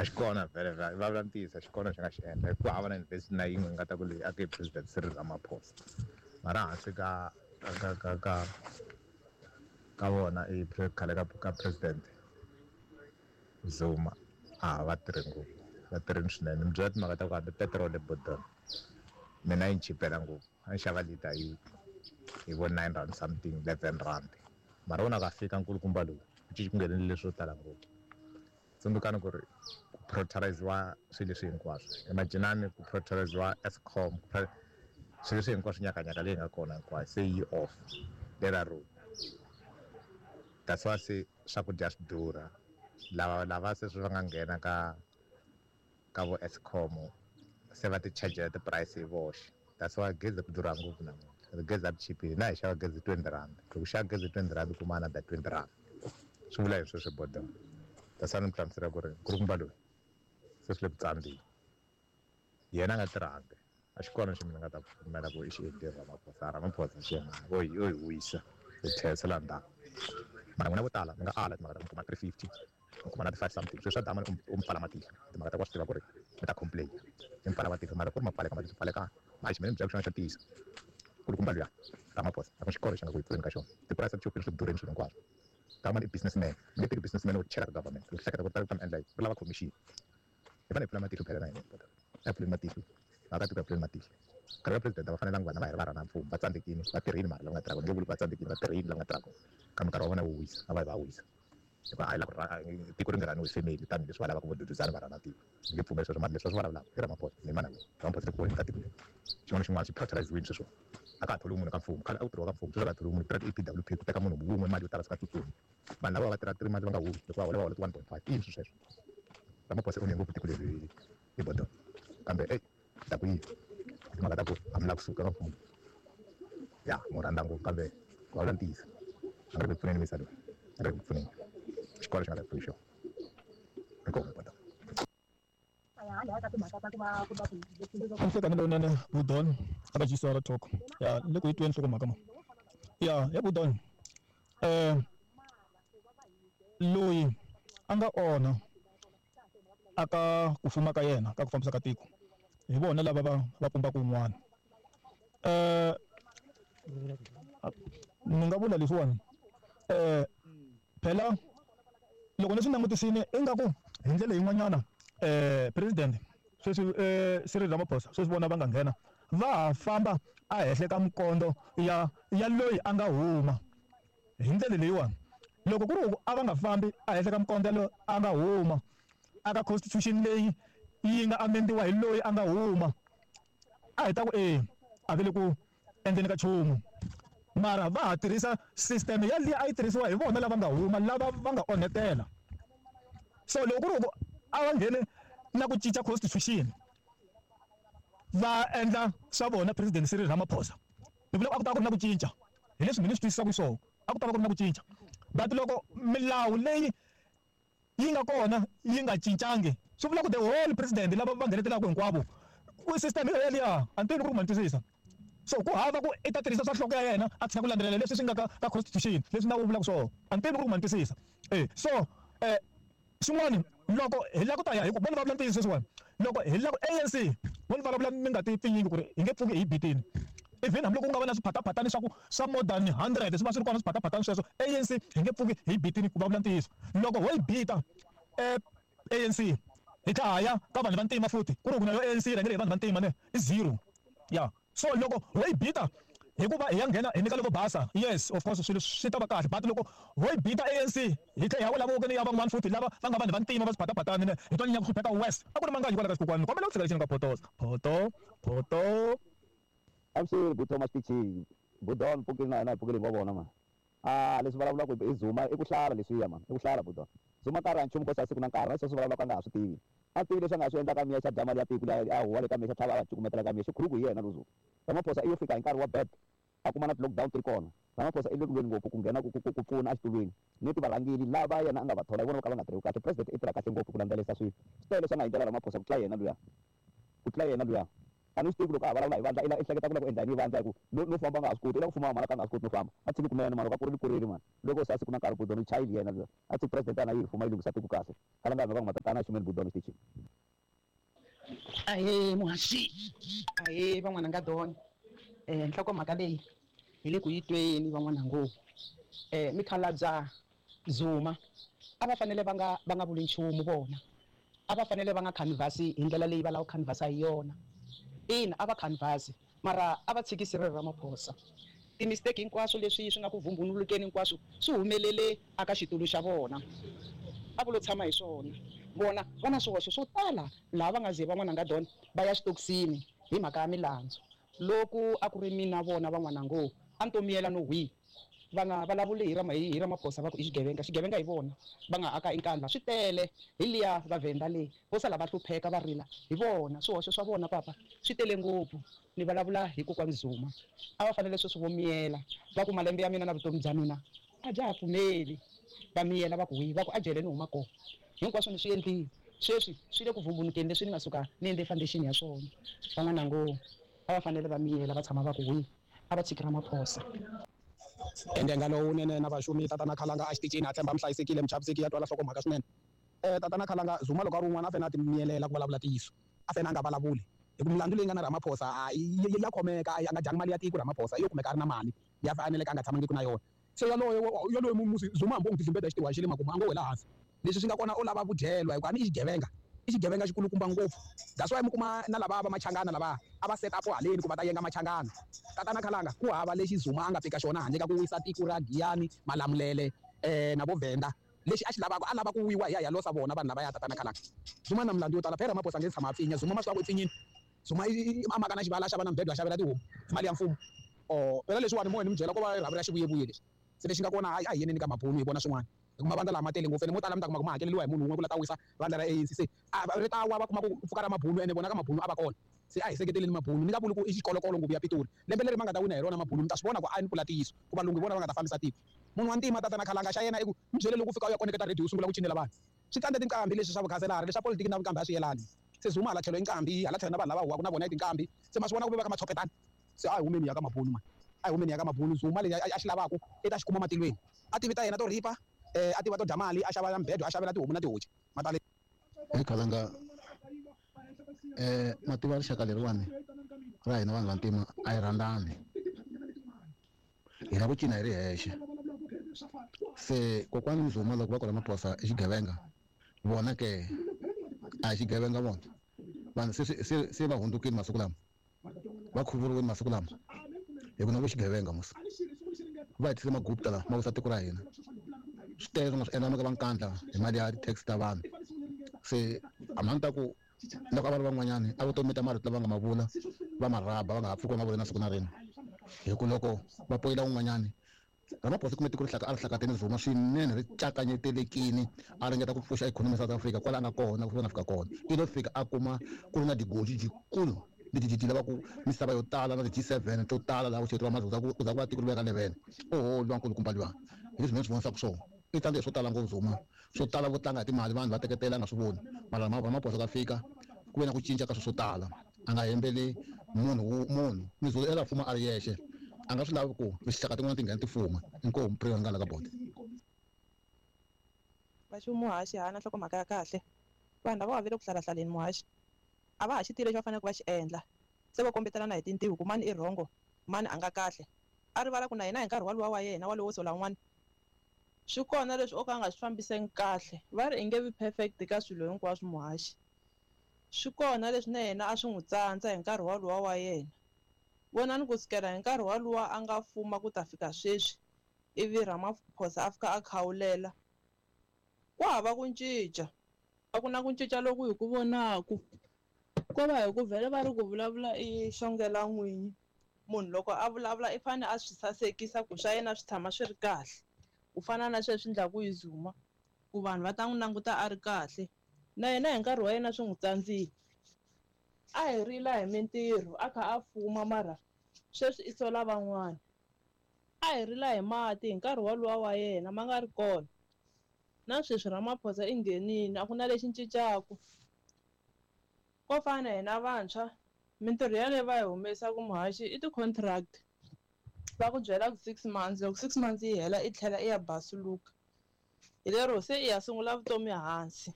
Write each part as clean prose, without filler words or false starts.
A xi kona vhele vhele va vula ntiyiso a xi kona xi nga xi endla ku hava na university na yin'we nga ta ku leyi aka hi president Cyril Ramaphosa mara hansi ka ka ka ka ka vona i khale ka ka president Zuma a va tirhi ngopfu va tirhini swinene mi byela timhaka ta ku hambi petiroli ebodweni mina yi ni chipela ngopfu a ni xava lita hi hi vo 9 rand something, 11 rand, mara vona ka fika nkulukumba lowu ku cinci ku nghenele leswo tala ngopfu. Tsundzukani ku ri ku prioritiziwa swilo leswi hinkwaswo, imaginani ku prioritiziwa Eskom, swilo leswi hinkwaswo, nyakanyaka leyi nga kona hinkwayo se yi off lera road. That's why se swakudya swi durha. Lava lava se swi va nga nghena ka vo Eskom se va ti chargela ti-price hi voxe. That's why gezi ri durha ngopfu namuntlha. Gezi a ri chipile na hi xava gezi R20. Loko xava gezi R20, kuma another R20, swi vula hi sweswo bodo. That's why ni mi hlamusela ku ri nkulukumba loyi se swi le ku tsandzeni, yena a nga tirhangi. A xi kona xi mina nga ta pfumela ku i xi endlile Ramaphosa. Ramaphosa xi o hi wisa hi tlherisela ndzhaku, mara n'wina vo tala mi nga ala timhaka ta ku mi kuma 350, mi kuma na ti-five something. Swilo swa dama u mi pfala matihlo timhaka ta ku wa swi tiva ku ri mi ta complain, mi pfala matihlo, mara ku ri ma pfaleka matihlo pfalekana. Mara xi mina ni byela xona xa ntiyiso, kulukumba luya Ramaphosa a ku xikolo xi nga ku hi pfuleni ka xona. Tipurasi ti chupile, swi durheni swilo hinkwaswo. Government i businessman, mi nge teki businessman wo chela ka government u hleketa ku ta mi endla yini? U lava commission. Hi fanele hi pfula matihlo phela na hina, a hi pfuleni matihlo, vaakatiko, hi pfuleni matihlo. Nkarhi wa president a va fanelanga vanhu va hi ri va rhana mfumo. Va tsandzekile, va tirhile, mara lava nga tirhaka ni nge vuli ku va tsandzekile, va tirhile lava nga tirhaka, kambe nkarhi wa vona wo wisa a va yi va wisa, hikuva a hi lava ku tiko ri nga rhaniwi hi family tanihileswi va lavaka vo duduzana va rhana tiko. Ni nge pfumeli sweswo, mara leswi va swi vulavulaka i Ramaphosa ni mana wena Ramaphosa le ku ka tiko leri. Xin'wana na xin'wana xi prioritiziwini sweswiwa. A ka ha tholiwi munhu ka mfumo. Khale a ku tirhiwa ka mfumo, sweswi a ka ha tholiwi munhu. Ku tirha ti-EPWP, ku teka munhu wun'we mali yo tala swi nga tsutsumi. Vanhu lava va tirha 3 months va nga humi, loko va hola va hola ti 1.5. I yini swilo sweswo? Ramaphosa u onhe ngopfu tiko leri hi bodo, kambe ey ta ku yini timhaka ta ku a mi lava kusuka ka mfumo ya mo rhandza ngopfu, kambe ku vulavula ntiyiso a nga ri ku pfuneni misa loyi, a nga ri ku pfuneni. Xikolo xi nga ta pfuni xona inkomu bodo. Nhlekanelo lowunene Budon aka GCR Talk ya le ku yi tweni nhlokomhaka ma ya Budon loyi a nga onha aka ku fuma ka yena ka ku fambisa ka tiko hi vona lava va pumbaka un'wana. Ni nga vula leswiwani, phela loko ni swi langutisile ingaku hi ndlela yin'wanyana president sweswi Cyril Ramaphosa sweswi vona va nga nghena va ha famba a henhla ka minkondo ya loyi a nga huma. Hi ndlela leyiwani, loko ku ri ku a va nga fambi a henhla ka minkondo ya loyi a nga huma aka constitution leyi yi nga amendiwa hi loyi a nga huma, a hi ta ku e a ve le ku endleni ka nchumu, mara va ha tirhisa system ya liya a yi tirhisiwa hi vona lava nga huma, lava va nga onhetela. So loko ku ri ku a va nghene na ku cinca constitution va endla swa vona president Cyril Ramaphosa, ni vula ku a ku ta va ku ri na ku cinca. Hi leswi mina ni swi twisisaka swona, a ku ta va ku ri na ku cinca, but loko milawu leyi yi nga kona yi nga cincangi, swi vula ku the whole president lava va nghenetelaka hinkwavo ku system yeliya a ni tivi ku ri ma ni twisisa. So ku hava ku i ta tirhisa swa nhloko ya yena a tshika ku landzelela leswi swi nga ka constitution, leswi nawu wu vulaka swona. A ni tivi ku ri ma ni twisisa. So xin'wani, loko hi lava ku ta ya hi ku vona va vula ntiyiso sweswiwani, loko hi lava ku ANC vo ni vulavula mi nga ti pfinyingi ku ri hi nge pfuki hi bitini, even hambiloko ku nga va na swiphataphatani swa ku swa more than 100 swi va swi ri kona swiphataphatani sweswo, ANC hi nge pfuki hi bitini. Ku vulavula ntiyiso, loko ho yi bita ANC hi tlha ha ya ka vanhu va ntima futhi, ku ri ku na yo ANC yi rhangele hi vanhu va ntima ne i zero ya. So loko ho yi bita hikuva hi ya nghena hi nyika loko basa, yes, of course swilo swi ta va kahle, but loko ho yi bita ANC hi tlhela hi ya wela vokweni ya van'wana futhi lava va nga vanhu va ntima va swiphataphatani ne hi twa nyanya ku hlupheka west. A ku ri manganyi kwala ka xikokwani. Kombela ku tshika lexi ni nga photosa photo photo. Avuxeni bu Thomas Pichi, Budon pfukile na hina hi pfukile hi ngo vona mani. A leswi vulavulaka hi Zuma i ku hlala leswiya mani, i ku hlala Budon. Zuma nkarhi a nchumu kosa siku na nkarhi na leswi vulavulaka a nga ha swi tivi. A tivi leswi a nga swi endlaka miya xa dya mali ya tiko liya a huwa le ka miya xa tlhava a va cukumetela ka miya xikhuruku hi yena lozo. Ramaphosa i yo fika hi nkarhi wa bad a kuma na ti-lockdown ti ri kona. Ramaphosa i le kulweni ngopfu ku nghena ku pfuna exitulwini ni ti varhangeli lava yena a nga va thola hi vona vo ka va nga tirheki kahle. President i tirha kahle ngopfu ku landzelerisa swilo. Swi tele leswi a nga endlela Ramaphosa ku tlula yena luya. Ku tlula yena luya. A ni swi tivi loko a vulavula hi vandla i hleketa ku lava ku endla yini hi vandla hi ku no famba a nga ha swi koti i lava ku fuma mara ka nga ha swi koti no famba a tshiki kunene mara loko a kurile kurile mani loko se a siku na nkarhi budoni chayili yena luya a tshiki president a na yi fuma yi lunghisa tiko kahle khalanga hi mhaka ku matatana a xumeni budoni xitichini. Ahee muhaxi, ahee van'wana nga dona. Nhlokomhaka leyi hi le ku yi tweni van'wana ngopfu. Mikhalabya Zuma a va fanele va nga va nga vuli nchumu vona. A va fanele va nga canvas-i hi ndlela leyi va lava ku canvas-a hi yona. Ina a va canvas-i mara a va tshiki Cyril Ramaphosa. Ti-mistake hinkwaswo leswi swi nga ku vumbunulukeni hinkwaswo swi humelele aka xitulu xa vona. A ku lo tshama hi swona. Vona va na swihoxo swo tala laha va nga ze van'wana nga dona va ya xitokisini hi mhaka ya milandzu. Loko a ku ri mina vona van'wana ngo a ni to miyela no hwi. Va nga vulavuli hi Rama hi Ramaphosa va ku i xigevenga, xigevenga hi vona va nga aka inkandla swi tele hi liya Vavhenda leyi vo sala va hlupheka va rila hi vona swihoxo swa vona papa swi tele ngopfu ni vulavula hi kokwani Zuma a va fanele sweswi vo miyela va ku malembe ya mina na vutomi bya mina a bya ha pfumeli va miyela va ku hwi va ku a jele ni huma kona hinkwaswo ni swi endlile sweswi swi le ku vumbunukeni leswi ni nga suka ni endle foundation ya swona van'wana ngo a va fanele va miyela va tshama va ku hwi a va tshiki Ramaphosa. Ndenga lowunene na vaxumi tatana Khalanga a xitichini a tshemba mi hlayisekile mi chavisekile ya twala nhlokomhaka swinene. Tatana Khalanga Zuma loko a ri un'wana a fanele a ti miyelela ku vulavula ntiyiso a fanele a nga vulavuli hi ku milandzu leyi nga na Ramaphosa a ya khomeka a nga dyangi mali ya tiko Ramaphosa yo kumeka a ri na mali ya faneleke a nga tshamangiki na yona se yaloye yaloye musi Zuma hambi o n'wi tihlimbeta hi xitiwa xa le makumu a ngo wela hansi leswi swi nga kona u lava vudyelwa hikuva a ni i xigevenga i xigevenga xikulukumba ngopfu that's why mi kuma na lava va machangana lava a va set up haleni ku va ta yenga machangana tatana Khalanga ku hava lexi Zuma a nga fika xona handle ka ku wisa tiko ra Giyani Malamulele na vo Venda lexi a xi lavaka a lava ku wiwa hi ya ya losa vona vanhu lava ya tatana Khalanga Zuma na milandzu yo tala phela Ramaphosa nge tshama a pfinya Zuma ma swi tiva ku i pfinyini Zuma a maka na xivala a xava na mbedo a xavela tihomu mali ya mfumo or phela leswiwani mo ni mi byela ko va rhavi ra xivuyevuye lexi se lexi nga kona a hi yeneni ka mabunu hi vona swin'wana hi kuma vandla lama tele ngopfu ene mo tala mi ta kuma ku ma hakeleriwa hi munhu wun'we ku la ta wisa vandla ra ANC se ri ta wa va kuma ku pfuka ra mabunu ene vona ka mabunu a va kona se a hi seketeleni mabunu ni nga vuli ku i xikolokolo ngopfu ya Pitori lembe leri ma nga ta wina hi rona mabunu mi ta swi vona ku a ni pfula ntiyiso ku valungu hi vona va nga ta fambisa tiko munhu wa ntima tatana Khalanga xa yena i ku mi byele loko u fika u ya koneketa radio u sungula ku cinela vanhu swi tsandze tinqambi leswi swa vukhanselara leswa politiki na vuqambi a swi yelani se Zuma hala tlhelo i nqambi hala tlhelo na vanhu lava huwaka na vona i tinqambi se ma swi vona ku ve va ka matshopetana se a hi humeni ya ka mabunu mani a hi humeni ya ka mabunu Zuma leyi a xi lavaka i ta xi kuma matilweni a tivi ta yena to ripa a tiva to dya mali a xava na mbedo a xavela tihomu na tihoci matale. Hey Khalanga mativa rixaka leriwani ra hina vanhu vantima a hi rhandzani hi lava ku cina hi ri hexe se kokwani Zuma loko va ku Ramaphosa i xigevenga vona ke a hi xigevenga vona vanhu se va hundzukile masiku lama va khuvuriwile masiku lama hi ku na ku xigevenga musi va hi tisile magupta lama ma wisa tiko ra hina swi tele swi nga swi endla ka va nkandla hi mali ya ti-tax ta vanhu se a mhani ta ku loko a va ri van'wanyani a vutomi ta marito lava nga ma vula va marhaba va nga ha pfuki va ma vula na siku na rin'we hi ku loko va poyila un'wanyani Ramaphosa kume tiko ri a ri hlakateni Zuma swinene ri cakanyetelekini a ringeta ku pfuxa ikhonomi ya South Africa kwala a nga kona ku fika na fika kona i lo fika a kuma ku ri na digoji jikulu leti ti lavaka misava yo tala na ti-G7 to tala laha ku xeketiwa mazulu ku za ku va tiko ri veka levene oho luwa nkulukumba luwa hi leswi mina swi vonisaka swona i tsandzeke swo tala ngopfu Zuma swo tala vo tlanga hi timali vanhu va teketela a nga swi voni mara Ramaphosa ka fika ku ve na ku cinca ka swilo swo tala a nga hembeli munhu munhu Mizulu i la fuma a ri yexe a nga swi lavi ku rixaka tin'wana ti nghena ti fuma inkomu prayer nga la ka bodi Vaxi muhaxi hana nhlokomhaka ya kahle vanhu lava va le ku hlalahlaleni muhaxi a va ha xi tivi lexi va faneleke va xi endla se va kombetelana hi tintiho ku mani i rhongo mani a nga kahle a rivala ku na yena hi nkarhi walowa wa yena walowo sola un'wana swi kona leswi o ka a nga swi fambiseki kahle va ri i nge vi perfect ka swilo hinkwaswo muhaxi swi kona leswi na yena a swi n'wi tsandza hi nkarhi walowa wa yena vonani ku sukela hi nkarhi walowa a nga fuma ku ta fika sweswi ivi Ramaphosa a fika a khawulela ku hava ku cinca a ku na ku cinca loku hi ku vonaku ko va hi ku vhele va ri ku vulavula i xongela n'winyi munhu loko a vulavula i fane a swi sasekisa ku swa yena swi tshama swi ri kahle ku fana na sweswi endlaku hi Zuma ku vanhu va ta n'wi languta a ri kahle na yena hi nkarhi wa yena swi n'wi tsandzile a hi rila hi mintirho a kha a fuma mara sweswi i sola van'wana a hi rila hi mati hi nkarhi walowa wa yena ma nga ri kona na sweswi Ramaphosa i nghenile a ku na lexi cincaku ko fana hina vantshwa Mintirho yaleyo va yi humesaka muhaxi i ti-contract. Va ku byela ku 6 months, loko 6 months yi hela i tlhela i ya basuluka. Hi lero se i ya sungula vutomi hansi.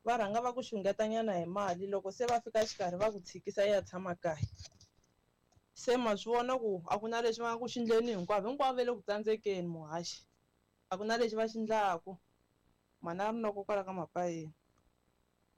Va rhanga va ku xungetanyana hi mali, loko se va fika xikarhi va ku tshikisa i ya tshama kaya. Se ma swi vona ku a ku na lexi va nga ku xi endleni hinkwavo, hinkwavo va le ku tsandzekeni muhaxi. A ku na lexi va xi endlaku. Mhana Rinoko kwala ka Mapayeni.